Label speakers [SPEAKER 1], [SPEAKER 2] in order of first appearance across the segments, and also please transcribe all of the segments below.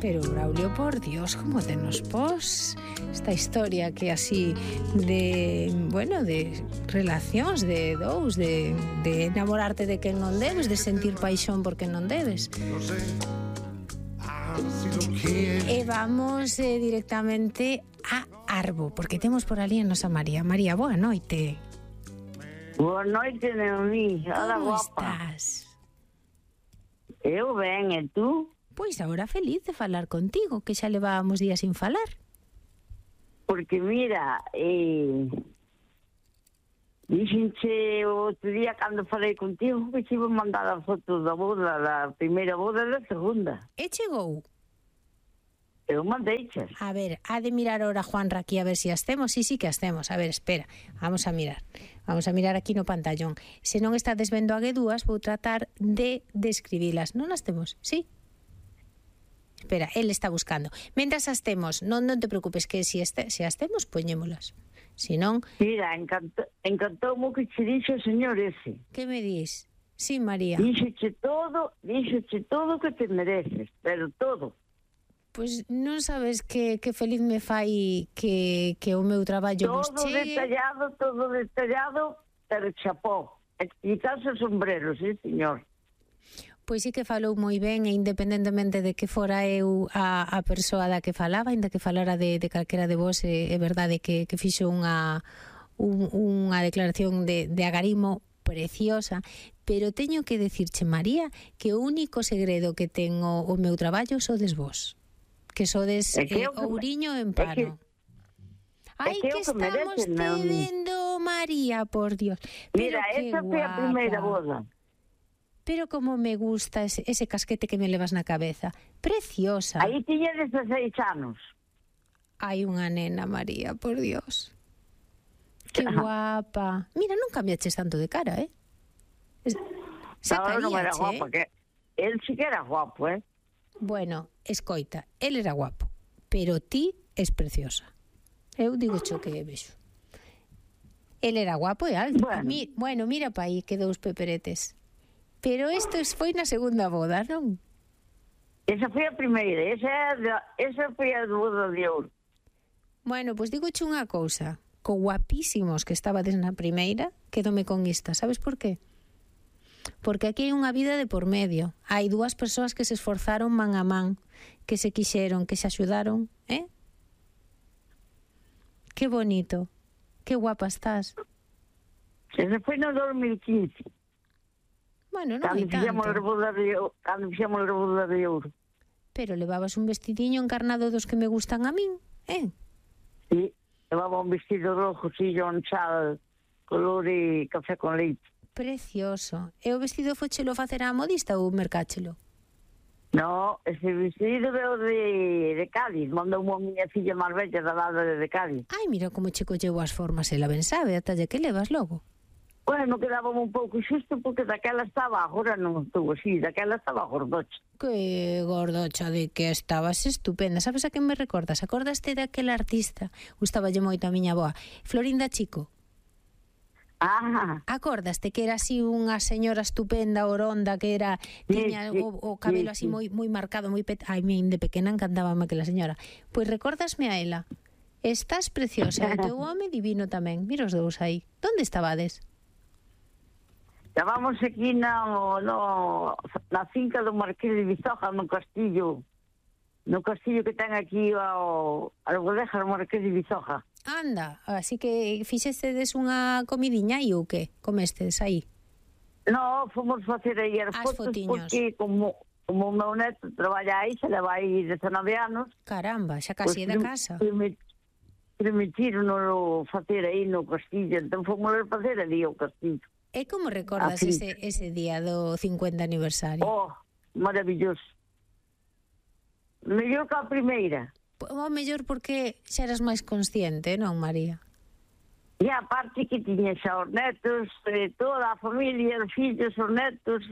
[SPEAKER 1] Pero, Braulio, por Dios, como te nos pos esta historia que así de, bueno, de relacións de dous, de enamorarte de quen non debes, de sentir paixón por quen non debes. E vamos directamente a Arbo, porque temos por ali a nosa María. María, boa noite.
[SPEAKER 2] Boa noite, Neoní. Hola,
[SPEAKER 1] Como
[SPEAKER 2] guapa.
[SPEAKER 1] estás?
[SPEAKER 2] Eu ben, e tú?
[SPEAKER 1] Pois agora feliz de falar contigo, que xa levábamos días sin falar.
[SPEAKER 2] Porque mira, dixenche o outro día cando falei contigo que te iba a mandar a foto da boda, da primeira boda e da segunda.
[SPEAKER 1] E chegou?
[SPEAKER 2] Eu mandeichas.
[SPEAKER 1] A ver, ha de mirar ahora Juanra aquí a ver si as temos. Sí que as temos. A ver, espera, vamos a mirar. Vamos a mirar aquí no pantallón. Se non estades vendo a G2, vou tratar de describilas. Non as temos, sí? Espera, él está buscando. Mentras as temos, non te preocupes, que se as temos, poñémolas. Si non...
[SPEAKER 2] Mira, encantoume que che dixo o señor ese.
[SPEAKER 1] Que me dis? Sí, María.
[SPEAKER 2] Díxoche todo que te mereces, pero todo.
[SPEAKER 1] Pois non sabes que feliz me fai que o meu traballo vos chegue.
[SPEAKER 2] Todo detallado, pero chapó. Quitarse o sombrero, sí, señor.
[SPEAKER 1] Pois sí que falou moi ben, e independentemente de que fora eu a persoa da que falaba, ainda que falara de calquera de vos, é verdade que fixo unha declaración de agarimo preciosa, pero teño que decirche, María, que o único segredo que ten o meu traballo sodes vos. Que sodes ouriño en pano. Ai, que estamos tendo, María, por Dios.
[SPEAKER 2] Mira, esa foi a primeira boda.
[SPEAKER 1] Pero como me gusta ese casquete que me levas na cabeza. Preciosa.
[SPEAKER 2] Aí tiña 16 anos.
[SPEAKER 1] Hai unha nena, María, por Dios. Que guapa. Mira, non cambiaches tanto de cara, eh?
[SPEAKER 2] Non era guapa, que el sí que era guapo, eh?
[SPEAKER 1] Bueno, escoita, él era guapo, pero ti es preciosa. Eu digo cho que vexo. Él era guapo e alto. Bueno, mira pa aí que dous peperetes. Pero isto foi na segunda boda, non?
[SPEAKER 2] Esa foi a primeira, esa foi a boda de ouro.
[SPEAKER 1] Bueno, pois digo cho unha cousa. Co guapísimos que estabades na primeira, quedome con esta. Sabes por qué? Porque aquí hai unha vida de por medio. Hai dúas persoas que se esforzaron man a man, que se quixeron, que se axudaron, eh? Que bonito. Que guapa estás.
[SPEAKER 2] Ese foi no 2015.
[SPEAKER 1] Bueno, non hai tanto.
[SPEAKER 2] Cando fixemos a boda de ouro.
[SPEAKER 1] Pero levabas un vestidiño encarnado dos que me gustan a min, eh?
[SPEAKER 2] Sí, levaba un vestido rojo, sillón, chal, color e café con leite.
[SPEAKER 1] Precioso. E o vestido fochelo facer a modista ou mercáchelo?
[SPEAKER 2] No, ese vestido veo de Cádiz. Mandou unha miña filla máis bella da lada de Cádiz.
[SPEAKER 1] Ai, mira como che colleu as formas, ela ben sabe, a talla que levas logo.
[SPEAKER 2] Bueno, quedábamos un pouco xusto porque daquela estaba, agora non estou así, daquela estaba gordocha.
[SPEAKER 1] Que gordocha, de que estabas estupenda. Sabes a quen me recordas? Acordaste daquela artista? Gustaballe moito a miña boa, Florinda Chico. Acordaste que era así unha señora estupenda, oronda, que era tiña o cabelo así moi marcado, moi ai, de pequena encantábame aquela señora. Pois recórdasme a ela. Estás preciosa, o teu home divino tamén. Mira os dous aí. Onde estabades?
[SPEAKER 2] Estábamos aquí na finca do Marqués de Vizoja, no castillo que ten aquí as bodejas do Marqués de Vizoja.
[SPEAKER 1] Anda, así que fixestedes unha comidiña aí ou que? Comestedes aí?
[SPEAKER 2] No, fomos facer aí as fotos fotiños. Porque como o meu neto traballa aí, se leva aí 19 anos.
[SPEAKER 1] Caramba, xa casi é da casa.
[SPEAKER 2] Permitiron facer aí no castillo, entón fomos a facer ali o castillo.
[SPEAKER 1] E como recordas ese día do 50 aniversario?
[SPEAKER 2] Oh, maravilloso. Mellor que a primeira.
[SPEAKER 1] O mellor porque xa eras máis consciente, non, María?
[SPEAKER 2] E a parte que tiña xa os netos, toda a familia, os fillos, os netos.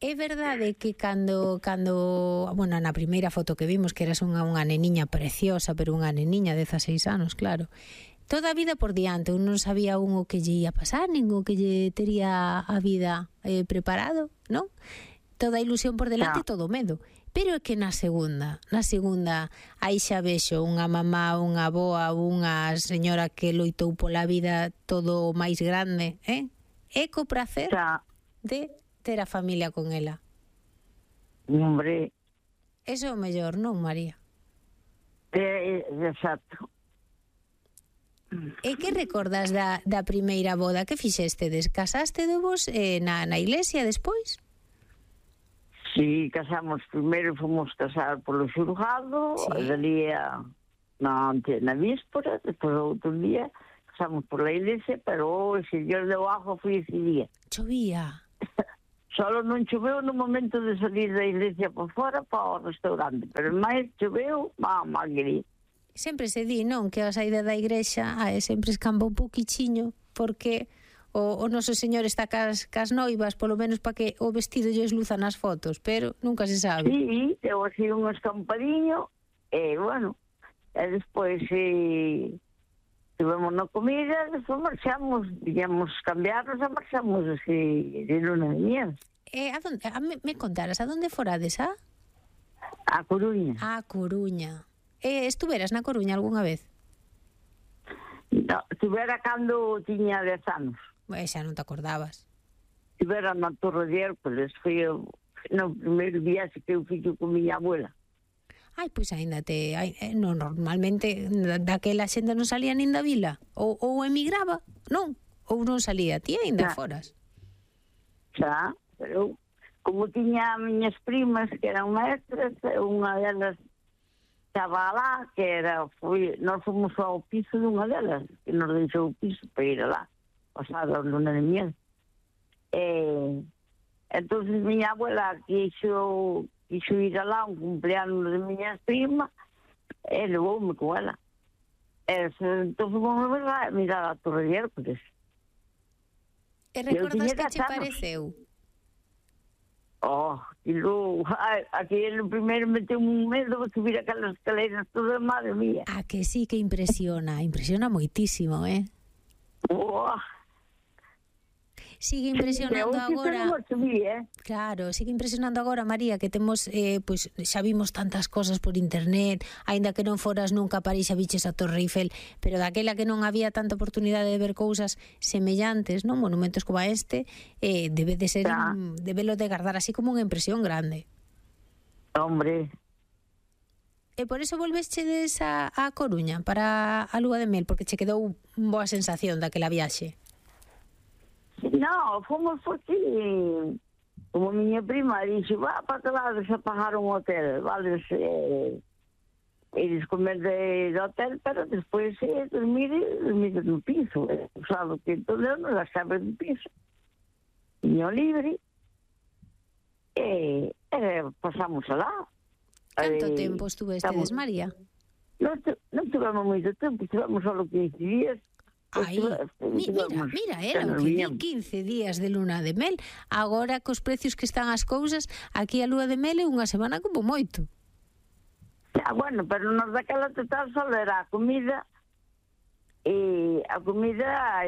[SPEAKER 1] É verdade que cando bueno, na primeira foto que vimos, que eras unha neniña preciosa, pero unha neniña de 16 anos, claro, toda a vida por diante, un non sabía o que lle ia pasar, nin o que lle tería a vida preparado, non? toda a ilusión por delante e todo o medo. Pero é que na segunda, aí xa vexo unha mamá, unha avoa, unha señora que loitou pola vida todo o máis grande, e co prazer de ter a familia con ela.
[SPEAKER 2] Hombre.
[SPEAKER 1] Eso é o mellor, non, María?
[SPEAKER 2] Exacto.
[SPEAKER 1] E que recordas da primeira boda? Que fixestedes? Casaste vos na iglesia despois?
[SPEAKER 2] Sí, casamos primeiro, fomos casar polo xulgado, dali na víspora, depois outro día, casamos por la iglesia, pero o señor de abajo foi ese día.
[SPEAKER 1] Chovía.
[SPEAKER 2] Solo non choveu no momento de salir da iglesia por fora para o restaurante, pero máis choveu, mamá querida.
[SPEAKER 1] Sempre se di, non, que a saída da igrexa sempre escamba un pouquichiño, porque o noso señor está cas noivas, polo menos para que o vestido lles luza nas fotos, pero nunca se sabe.
[SPEAKER 2] Sí, deu así un escampadiño, e bueno, e despois tivemos na comida, despois marchamos, digamos, cambiarnos e marchamos así de luna de miel.
[SPEAKER 1] Me contaras, a donde forades, a?
[SPEAKER 2] A Coruña.
[SPEAKER 1] A Coruña. Estuveras na Coruña algunha vez?
[SPEAKER 2] No, estivera cando tiña 10 anos.
[SPEAKER 1] Xa non te acordabas.
[SPEAKER 2] Estivera na Torre de Hércules, foi no primeiro viaxe que eu fixo con miña abuela.
[SPEAKER 1] Ai, pois aínda normalmente daquela xente non salía nin da vila, ou emigraba, non? Ou non salía, ti aínda foras.
[SPEAKER 2] Xa, pero como tiña miñas primas que eran maestras, unha delas estaba lá, que nós fomos ao piso dunha delas, que nos deixou o piso para ir lá, pasada a luna de miel. Entonces miña abuela quixo ir alá un cumpleaños de miñas primas e levoume con ela. Entón fomos a mirar a Torre de Hércules.
[SPEAKER 1] E recordas que che pareceu?
[SPEAKER 2] Aquele primeiro meteu un medo de subir aquelas escaleras todas, madre mía.
[SPEAKER 1] Que sí que impresiona moitísimo, Sigue impresionando agora. Claro, sigue impresionando agora, María, que temos, pois xa vimos tantas cosas por internet, aínda que non foras nunca a París a viches a Torre Eiffel, pero daquela que non había tanta oportunidade de ver cousas semellantes, non, monumentos como este, debe de ser, debelo de guardar así como unha impresión grande.
[SPEAKER 2] Hombre.
[SPEAKER 1] E por eso volvestes a Coruña para a lúa de mel, porque che quedou boa sensación daquela viaxe.
[SPEAKER 2] No, fomos porque como miña prima dixo, para que vades a pagar un hotel, vales eles comer de hotel, pero despois dormir no piso, usado que todo non gastaba no piso, niño libre, e pasamos alá.
[SPEAKER 1] Canto tempo estuvestedes, María?
[SPEAKER 2] Non tivemos moito tempo, estivemos só 15 días.
[SPEAKER 1] Mira, era o que di 15 días de luna de mel. Agora, cos precios que están as cousas, aquí a lúa de mel é unha semana como moito.
[SPEAKER 2] Bueno, pero nos daquela total só era a comida e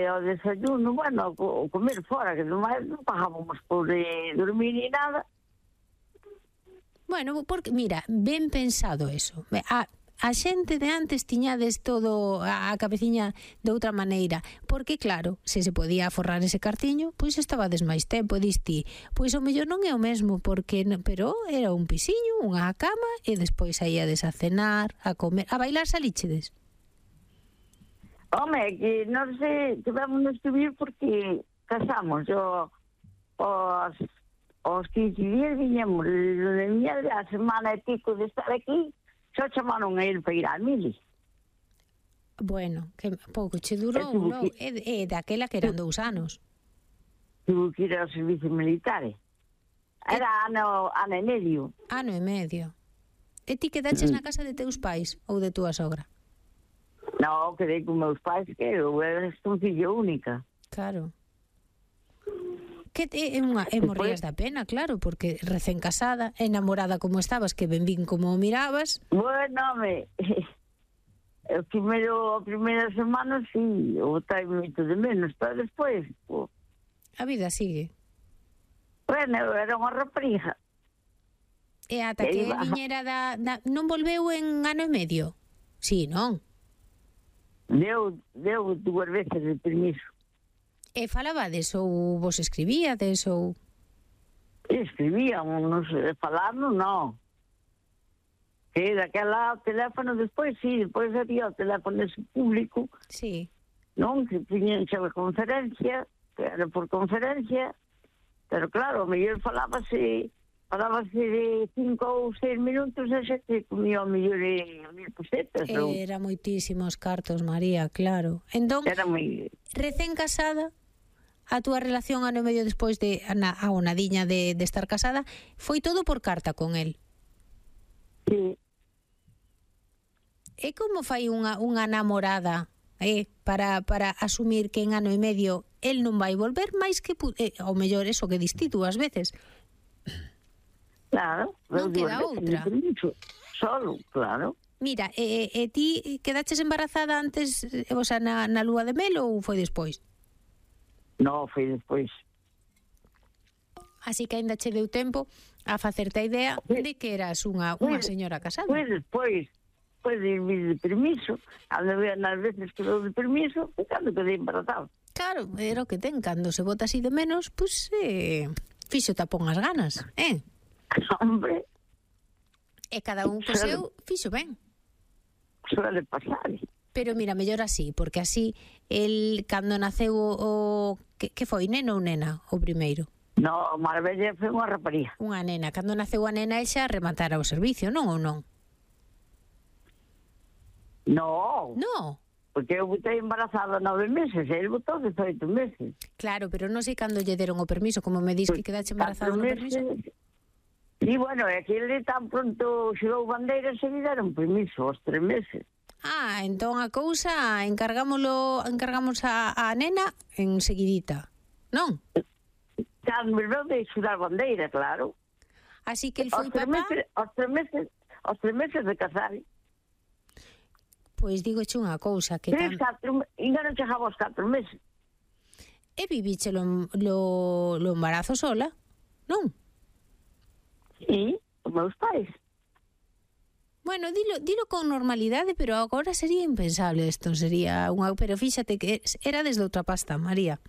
[SPEAKER 2] o desayuno, bueno, o comer fora, que non pagábamos por dormir ni nada.
[SPEAKER 1] Bueno, porque, mira, ben pensado eso. A xente de antes tiñades todo a cabeciña de outra maneira, porque claro, se podía aforrar ese cartiño, pois estabades máis tempo, diste, pois o mellor non é o mesmo, pero era un pisiño, unha cama, e despois saíades a cenar, a comer, a bailar salíchedes.
[SPEAKER 2] Home, que non sei, tivemos de subir porque casamos, os 15 días viñemos de miña a semana e pico de estar aquí, só chamaron a ir para ir a Mili.
[SPEAKER 1] Bueno, que pouco che durou, non? É daquela que eran 2 anos.
[SPEAKER 2] Tuve que ir ao servicio militar. Era ano e medio.
[SPEAKER 1] Ano e medio. E ti quedaches na casa de teus pais ou de túa sogra?
[SPEAKER 2] Non, quedei con meus pais, que eu era fillo única.
[SPEAKER 1] Claro. Que morrías da pena, claro, porque recén casada, enamorada como estabas, que ben vin como mirabas.
[SPEAKER 2] Bueno, a primeira semana, sí, o tai moito de menos, pero despois...
[SPEAKER 1] A vida sigue.
[SPEAKER 2] Bueno, era unha rapariga.
[SPEAKER 1] E ata que el viñera non volveu en ano e medio? Sí, non?
[SPEAKER 2] Deu 2 veces de permiso.
[SPEAKER 1] E falabades ou vos escribíades ou...
[SPEAKER 2] Escribíamos, falarnos, non. Que daquela teléfono despois, sí, despois había o teléfono ese público,
[SPEAKER 1] Sí.
[SPEAKER 2] non? Que tiñan xa a conferencia, que era por conferencia, pero claro, mellor falábase de 5 ou 6 minutos e xa te comía o mellor 1.000 pesetas.
[SPEAKER 1] Era moitísimos cartos, María, claro. Entón,
[SPEAKER 2] Era moi...
[SPEAKER 1] recén casada, a túa relación ano e medio despois de a nadiña de estar casada, foi todo por carta con el.
[SPEAKER 2] Sí.
[SPEAKER 1] E como fai unha namorada para asumir que en ano e medio el non vai volver máis que... ao mellor eso que diste tú ás veces.
[SPEAKER 2] Claro.
[SPEAKER 1] Non queda outra.
[SPEAKER 2] Solo, claro.
[SPEAKER 1] Mira, ti quedaches embarazada antes, o sea, na lúa de mel ou foi despois?
[SPEAKER 2] No, foi despois.
[SPEAKER 1] Así que aínda che deu tempo a facerte a idea de que eras unha señora casada.
[SPEAKER 2] Foi despois de vir de permiso, nas veces que dou de permiso, e cando quedei embarazada.
[SPEAKER 1] Claro, era o que ten, cando se bota así de menos, pois fixo tapón as ganas,
[SPEAKER 2] Hombre.
[SPEAKER 1] E cada un co seu fixo ben.
[SPEAKER 2] Suele pasar.
[SPEAKER 1] Pero mira, mellor así, porque así el cando naceu o que foi, neno ou nena, o primeiro?
[SPEAKER 2] No, Marbella foi unha rapariga.
[SPEAKER 1] Unha nena, cando naceu a nena xa rematara o servicio, non ou non?
[SPEAKER 2] No.
[SPEAKER 1] No.
[SPEAKER 2] Porque eu botei embarazada 9 meses, e ele botou 18 meses.
[SPEAKER 1] Claro, pero non sei cando lle deron o permiso, como me dis que quedache embarazada no permiso.
[SPEAKER 2] Sí, bueno, é que ele tan pronto xerou bandeira, se lle deron permiso, aos 3 meses.
[SPEAKER 1] Entón a cousa encargamos a nena en seguidita, non?
[SPEAKER 2] Cando me veu de xudar bandeira, claro.
[SPEAKER 1] Así que el foi papá...
[SPEAKER 2] Aos 3 meses de casar.
[SPEAKER 1] Pois digoche unha cousa, que...
[SPEAKER 2] Ainda non chegaba aos 4 meses.
[SPEAKER 1] E viviche lo embarazo sola, non?
[SPEAKER 2] Sí, os meus pais.
[SPEAKER 1] Bueno, dilo con normalidade, pero agora sería impensable isto, pero fíxate que era desde outra pasta, María.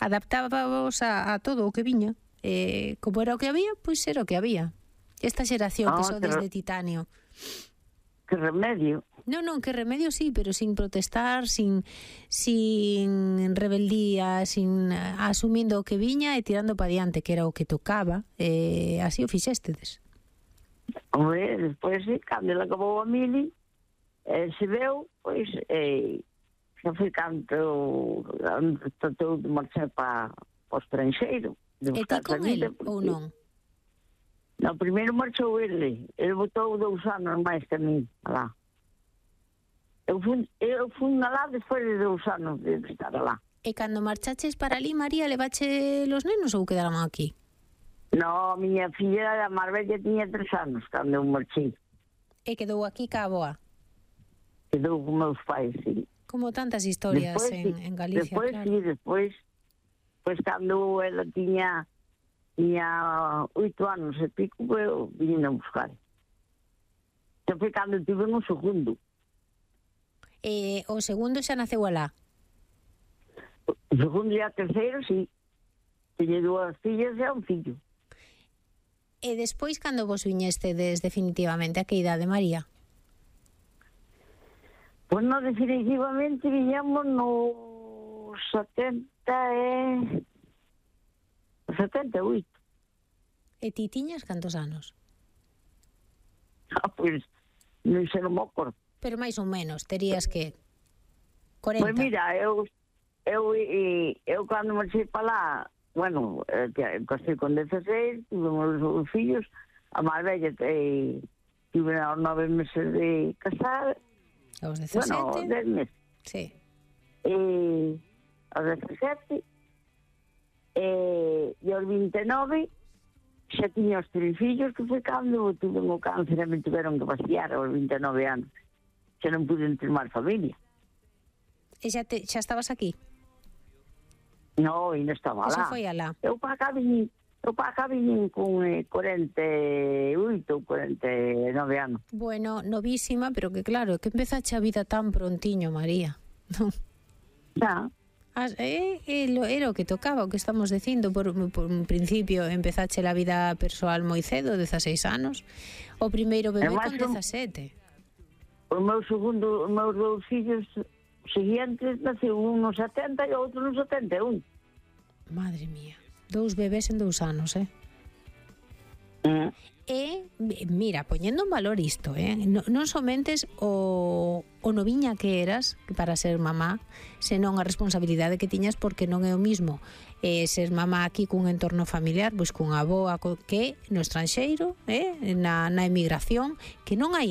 [SPEAKER 1] Adaptábamos a todo o que viña, como era o que había, pois era o que había. Esta xeración que son desde titanio.
[SPEAKER 2] Que remedio.
[SPEAKER 1] Non, que remedio sí, pero sin protestar, sin rebeldía, asumindo o que viña e tirando para diante, que era o que tocaba, así o fixéstedes.
[SPEAKER 2] Hombre, despois, cando ele acabou a mili, se veu, pois, xa foi canto tratou de marchar para o estranxeiro.
[SPEAKER 1] E ti con ele, ou non?
[SPEAKER 2] No, primeiro marchou ele botou 2 anos máis que a mí, alá. Eu fui alá despois de 2 anos de estar alá.
[SPEAKER 1] E cando marchaches para ali, María, levache los nenos ou quedaron aquí?
[SPEAKER 2] No, a miña filla a Marbella tiña 3 anos cando eu marchei.
[SPEAKER 1] E quedou aquí ca aboa?
[SPEAKER 2] Quedou con meus pais, sí.
[SPEAKER 1] Como tantas historias después, en Galicia,
[SPEAKER 2] después,
[SPEAKER 1] claro.
[SPEAKER 2] Sí, despois cando ela tiña 8 anos e pico, eu vine a buscar. Xa foi cando tive un segundo.
[SPEAKER 1] O segundo xa naceu alá?
[SPEAKER 2] O segundo e a terceiro, sí. Tiñe 2 fillas e un fillo.
[SPEAKER 1] E despois, cando vos viñestedes definitivamente, a que idade, María?
[SPEAKER 2] Pois non, definitivamente viñamos no 78.
[SPEAKER 1] E ti tiñas cantos anos?
[SPEAKER 2] Pois, non sei, non me acordo.
[SPEAKER 1] Pero máis ou menos, terías que 40.
[SPEAKER 2] Pois mira, eu cando marchei para lá, bueno, casei con 16, tivemos os fillos, a máis bella tive aos 9 meses de casar.
[SPEAKER 1] Aos 17?
[SPEAKER 2] Bueno, 10 meses.
[SPEAKER 1] Sí.
[SPEAKER 2] Aos 17, e aos 29, xa tiña os 3 fillos, que foi cando tuve o cáncer e me tiveron que vaciar aos 29 anos. Xa non pude ter máis familia.
[SPEAKER 1] E xa estabas aquí?
[SPEAKER 2] No, e non estaba
[SPEAKER 1] Eso
[SPEAKER 2] lá.
[SPEAKER 1] foi alá.
[SPEAKER 2] Eu para cá vim O pa acá viñen con 48 ou 49 anos.
[SPEAKER 1] Bueno, novísima, pero que claro, que empezache a vida tan prontiño, María.
[SPEAKER 2] Xa.
[SPEAKER 1] Era o que tocaba, o que estamos dicindo por un principio empezache a vida persoal moi cedo, 16 anos, o primeiro bebé con 17.
[SPEAKER 2] Os meus dous fillos seguintes naceu un nos 70 e outro nos 71.
[SPEAKER 1] Madre mía, 2 bebés en 2 anos, E, mira, poñendo en valor isto, non somentes o noviña que eras para ser mamá, senón a responsabilidade que tiñas, porque non é o mismo ser mamá aquí cun entorno familiar, pois cunha avoa que no estranxeiro, na emigración, que non hai